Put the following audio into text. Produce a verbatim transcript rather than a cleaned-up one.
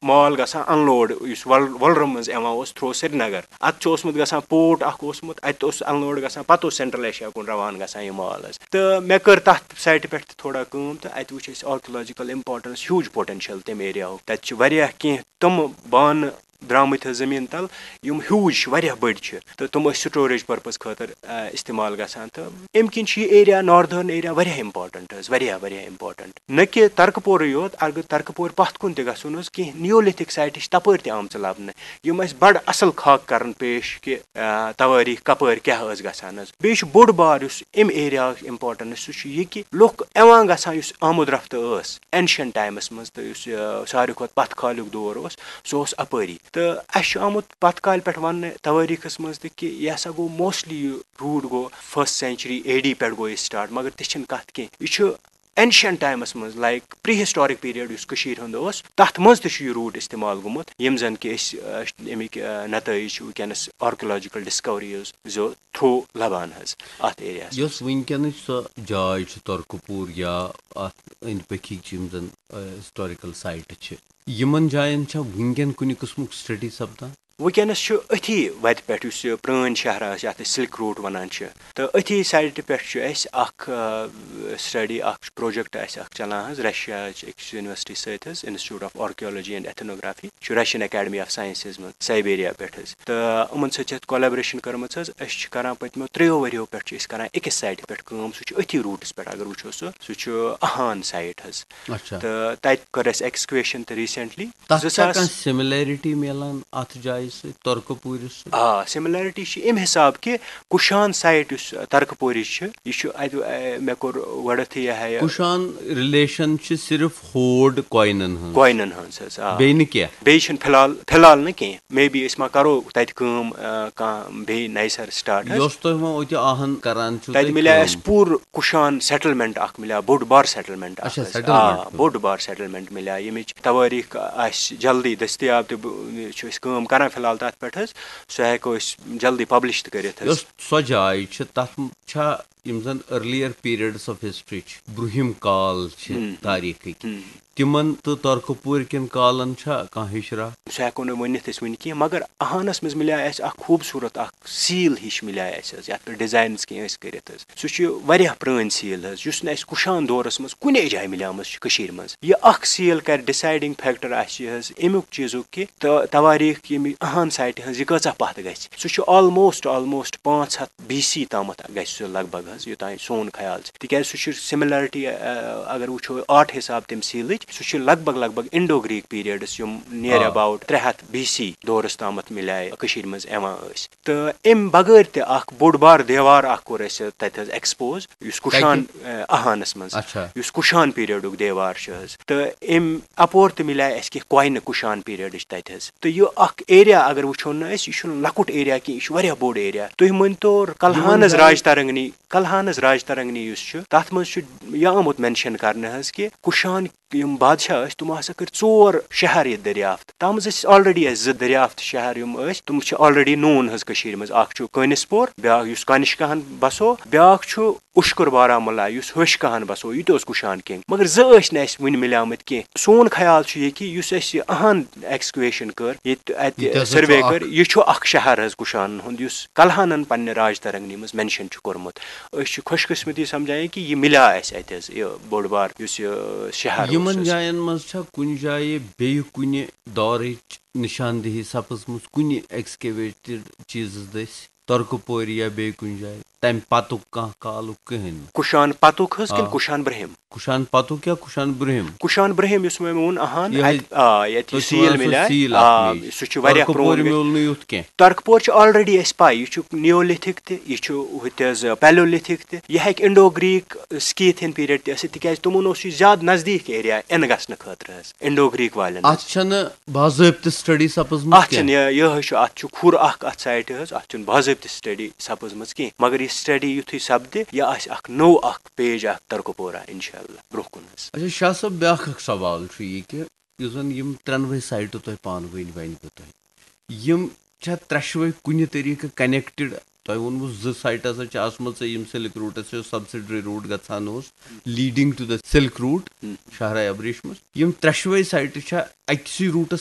مال گژھان انلوڈ، یُس وۄل-، وۄلرٕ منٛز یِوان اوس تھرٛوٗ سرینگر۔ اَتھ چھُ اوسمُت گژھان پورٹ اَکھ اوسمُت، اَتہِ اوس انلوڈ گژھان، پَتہٕ اوس سینٹرل ایشیا کُن روانہٕ گژھان یہِ مال حظ۔ تہٕ مےٚ کٔر تَتھ سایٹہِ پٮ۪ٹھ تہِ تھوڑا کٲم، تہٕ اَتہِ وٕچھ اَسہِ آرکیولوجیکل امپارٹنس، ہیوٗج پوٹینشل تَمہِ ایریاہُک۔ تَتہِ چھِ واریاہ کینٛہہ تِم بانہٕ درٛامٕتۍ حظ زٔمیٖن تَل، یِم ہیوٗج چھِ، واریاہ بٔڑۍ چھِ، تہٕ تِم ٲسۍ سٹوریج پرپز خٲطرٕ، آ، استعمال گژھان۔ تہٕ اَمہِ کِنۍ چھُ یہِ ایریا، ناردٲرن ایریا، واریاہ امپارٹنٹ حظ، واریاہ، واریاہ امپارٹنٹ۔ نہ کہِ ترکہٕ پورٕے یوت، اگر ترکہٕ پورِ پتھ کُن تہِ گژھُن اوس، کینٛہہ نیولتھک سایٹہٕ چھِ تپٲرۍ تہِ آمژٕ لبنہٕ، یِم اَسہِ بڑٕ اصل خاکہٕ کرن پیش کہِ، آ، توٲریٖخ کپٲرۍ کیاہ ٲس گژھان حظ۔ بیٚیہِ چھُ بوٚڑ بار یُس اَمہِ ایریاہُک امپارٹنس چھُ، سُہ چھُ یہِ کہِ لُکھ یِوان گژھان، یُس آمد رفت ٲس ancient times منٛز، تہٕ یُس، آ، ساروی کھۄتہٕ پتھ کالیُک دور اوس، سُہ اوس اپٲری۔ تہٕ اَسہِ چھُ آمُت پتھ کالہِ پٮ۪ٹھ وننہٕ توٲریٖخس منٛز تہِ کہِ یہِ ہسا گوٚو mostly، یہِ روٗٹ گوٚو first century A D پٮ۪ٹھ گوٚو یہِ start، مگر تہِ چھِنہٕ کتھ کینٛہہ۔ یہِ چھُ ancient times منٛز، like pre historic period یُس کٔشیٖرِ ہُنٛد اوس، تتھ منٛز تہِ چھُ یہِ روٗٹ استعمال گوٚمُت، یِم زن کہِ أسۍ، آ، اَمِکۍ، آ، نتٲیج چھِ وٕنکیٚنس آرکیولوجیکل ڈسکوریز زو تھرٛوٗ لبان حظ اتھ ایریاہس منٛز۔ یۄس وٕنکیٚنٕچ سۄ جاے چھِ ترکہٕ پوٗر یا اتھ أنٛدۍ پٔکھِکۍ چھِ یِم زن، آ، ہسٹوریکل سایٹہٕ چھِ، یِمن جاین چھا وٕنکیٚن کُنہِ قٕسمُک سٹڈی سپدان؟ وٕنکیٚنَس چھُ أتھی وَتہِ پٮ۪ٹھ، یُس یہِ پرٛٲنۍ شہر ٲس، یَتھ أسۍ سِلک روٗٹ وَنان چھِ، تہٕ أتھی سایٹہِ پٮ۪ٹھ چھُ اَسہِ اَکھ، آ، سٹڈی، اَکھ پروجیکٹ اَسہِ اَکھ چَلان حظ، رشیاہٕچ أکِس یونیورسٹی سۭتۍ حظ، Institute of Archaeology and Ethnography، چھُ Russian Academy of Sciences منٛز، سائبیریا پٮ۪ٹھ حظ۔ تہٕ یِمَن سۭتۍ چھِ اَتھ collaboration کٔرمٕژ حظ۔ أسۍ چھِ کَران پٔتمیو ترٛیٚیو ؤریو پٮ۪ٹھ چھِ أسۍ کَران أکِس سایٹہِ پٮ۪ٹھ کٲم، سُہ چھُ أتھی روٗٹَس پٮ۪ٹھ، اگر وٕچھو سُہ، سُہ چھُ اہان سایٹ حظ۔ اچھا۔ تہٕ تَتہِ کٔر اَسہِ excavation تہِ recently۔ تَتھ زٕ چھا ساس۔ کانٛہہ similarity میلان اَتھ جایہِ سۭتۍ، ترکہٕ پوٗرِس سۭتۍ؟ آ، similarity چھِ اَمہِ حساب کہِ کُشان سایٹ یُس ترکہٕ پوٗرِس چھِ، یہِ چھُ اَتہِ، اَ، مےٚ کوٚر گۄڈٕنٮ۪تھٕے یہِ ہا یہِ۔ کُشان relation چھِ صرف ہوڈ کوینن ہٕنٛز۔ کوینن ہٕنٛز حظ، آ۔ بیٚیہِ نہٕ کینٛہہ؟ بیٚیہِ چھِنہٕ فی الحال، فی الحال نہٕ کینٛہہ۔ Maybe أسۍ ما کَرو تَتہِ کٲم، آ، کانٛہہ بیٚیہِ نَیہِ سَرٕ start حظ۔ یۄس تۄہہِ وۄنۍ اوتہِ آہن کران چھِو تَتہِ تُہۍ مِلے کٲم۔ اَسہِ پوٗرٕ کُشان settlement اَکھ مِلیو، بوٚڑ بار settlement اَکھ اچھا، حظ۔ settlement آ، پٮ۪ٹھ۔ بوٚڑ بار settlement مِلیو، ییٚمِچ توٲریٖخ آسہِ جلدی دٔستیاب تہٕ بہٕ، چھِ أسۍ کٲم کران فی الحال تَتھ پٮ۪ٹھ حظ۔ سُہ ہٮ۪کو أسۍ جلدی publish تہِ کٔرِتھ حظ۔ یۄس سۄ جاے چھِ، تَتھ چھا یِم زَن earlier periods of history چھِ، برٛونٛہِم کال چھِ ہم، ہم، تاریٖخٕکۍ، ہم۔ تِمن تہٕ ترکہٕ پوٗرۍ کٮ۪ن کالن چھا کانٛہہ ہِشرا؟ سُہ ہٮ۪کو نہٕ ؤنِتھ أسۍ وٕنہِ کینٛہہ، مگر اہانس منٛز مِلیو اَسہِ اَکھ خوٗبصوٗرت اَکھ seal ہِش مِلیو اَسہِ حظ، یَتھ پٮ۪ٹھ designs کینٛہہ ٲسۍ کٔرِتھ حظ۔ سُہ چھُ واریاہ پرٛٲنۍ seal حظ، یُس نہٕ اَسہِ کُشان دورس منٛز کُنے جایہِ مِلیمٕژ چھِ کٔشیٖرِ منٛز۔ یہِ اَکھ seal کَرِ deciding factor اَسہِ یہِ حظ اَمیُک چیٖزُک کہِ تہٕ توٲریٖخ ییٚمہِ اہان سایٹہِ ہٕنٛز یہِ کۭژاہ پَتھ گژھِ۔ سُہ چھُ almost، almost پانٛژھ ہَتھ B C تامَتھ گژھِ سُہ لگ بگ حظ، یوٚتام سون خیال چھُ۔ تِکیٛازِ سُہ چھُ similarity، اَ، اَ، اگر وٕچھو آرٹ حساب تَمہِ سیٖلٕچ، سُہ چھُ لگ بگ، لگ بگ Indo Greek periods، یِم near آ۔ About ترٛےٚ ہَتھ B C دورس تامَتھ مِلیے کٔشیٖرِ منٛز یِوان ٲسۍ۔ تہٕ اَمہِ بغٲر تہِ اَکھ بوٚڑ بار دیوار اَکھ کوٚر اَسہِ تَتہِ حظ expose، یُس کُشان، کَتہِ؟ اَ، اہانس منٛز، اچھا۔ یُس کُشان periodُک دیوار چھُ حظ۔ تہٕ اَمہِ اَپور تہِ مِلیے اَسہِ کینٛہہ کوینہٕ کُشان periodٕچ تَتہِ حظ۔ تہٕ یہِ اَکھ area اگر وٕچھو نہٕ أسۍ، یہِ چھُنہٕ لۄکُٹ area کینٛہہ، یہِ چھُ واریاہ بوٚڑ area۔ تُہۍ مٲنۍ تو یِمن کلہانس جاین راج ترنگنی، کلہانس راج ترنگنی یُس چھُ، تَتھ منٛز چھُ یہِ آمُت mention کرنہٕ حظ کہِ کُشان یِم بادشاہ ٲسۍ، تِمو ہسا کٔرۍ ژور شہر ییٚتہِ دٔریافت۔ تَتھ منٛز ٲسۍ already اَسہِ زٕ دٔریافت شہر یِم ٲسۍ، تِم چھِ already known حظ کٔشیٖرِ منٛز۔ اکھ چھُ کٲنِس پور، بیٛاکھ یُس کنشکاہن بسو، بیٛاکھ چھُ اُشکُر بارہمولہ یُس ہیوٚچھ کہن بسو، یہِ تہِ اوس کُشان کِنگ۔ مگر زٕ ٲسۍ نہٕ اَسہِ وُنہِ مِلیمٕتۍ کینٛہہ۔ سون خیال چھُ یہِ کہِ یُس اَسہِ یہِ اہن excavation کٔر، ییٚتہِ اَتہِ ییٚتہِ ہسا چھُ survey اکھ۔ کٔر، یہِ چھُ اکھ شہر حظ کُشانن ہُنٛد، یُس کلہانن پننہِ راج ترنگنی منٛز mention چھُ کوٚرمُت۔ أسۍ چھِ خۄش قسمتی سمجھان کہِ یہِ مِلیو اَسہِ اَتہِ حظ، یہِ بوٚڑ بار یُس یہِ شہر اوس یِمن حظ۔ جاین منٛز چھا کُنہِ جایہِ بیٚیہِ کُنہِ دورٕچ نشاندہی سپٕزمٕژ، کُنہِ excavated چیٖزس دٔسۍ، ترکہٕ پورِ یا بیٚیہِ کُنہِ جایہِ، تمہِ پتُک کانٛہہ کالُک کٕہٕنۍ نہٕ؟ کُشان پتُک حظ کِنہٕ آ۔ کُشان برٛہِم؟ کُشان پتُک یا کُشان برٛہِم؟ کُشان برٛہِم یُس مےٚ ووٚن، اہان، یِہوٚے اَتہِ، آ، ییٚتہِ تُہۍ یہِ چھِو seal وَنان سُہ مِلیو، seal اَکھ آ، میٖج۔ سُہ چھُ واریاہ ترکہٕ پورِ پرٛون۔ میوٗل نہٕ یُتھ کینٛہہ۔ ترکہٕ پورِ چھُ already اَسہِ پَے، یہِ چھُ Neolithic تہِ، یہِ چھُ ہُتہِ حظ Paleolithic تہِ، یہِ ہیٚکہِ Indo Greek Scythian period تہِ ٲسِتھ، تِکیٛازِ تِمَن اوس یہِ زیادٕ نزدیٖک area یِنہٕ گژھنہٕ خٲطرٕ حظ، Indo Greek والٮ۪ن حظ۔ اَتھ چھَنہٕ باضٲبطہٕ study سپٕزمٕژ اَتھ کینٛہہ۔ چھَنہٕ یہِ، یِہوٚے چھُ، اَتھ چھُ کھُر اَکھ اَتھ سایٹہِ حظ، اَتھ چھُنہٕ باضٲبطہٕ study سپٕزمٕژ کینٛہہ، مگر یہِ study یُتھُے سپدِ، یہِ آسہِ اَکھ نوٚو اَکھ page اَکھ ترکہٕ پورہ، اِنشاء اللہ، برٛونٛہہ کُن حظ۔ اچھا، شاہ صٲب، بیٛاکھ اَکھ سوال چھُ یہِ کہِ یُس زَن یِم ترٛٮ۪نوَے سایٹہٕ تۄہہِ پانہٕ ؤنۍ ؤنۍ بہٕ تۄہہِ، یِم چھا ترٛٮ۪شوَے کُنہِ طریٖقہٕ connected تۄہہِ ووٚنوُ زٕ سایٹہٕ ہسا چھِ آسمژٕ یِم سلک روٗٹس چھِ سبسڈری روٗٹ گژھان اوس، leading to the silk route، شاہراہ ابریشمس۔ یِم ترٛٮ۪شوے سایٹہٕ چھِ أکسٕے روٗٹس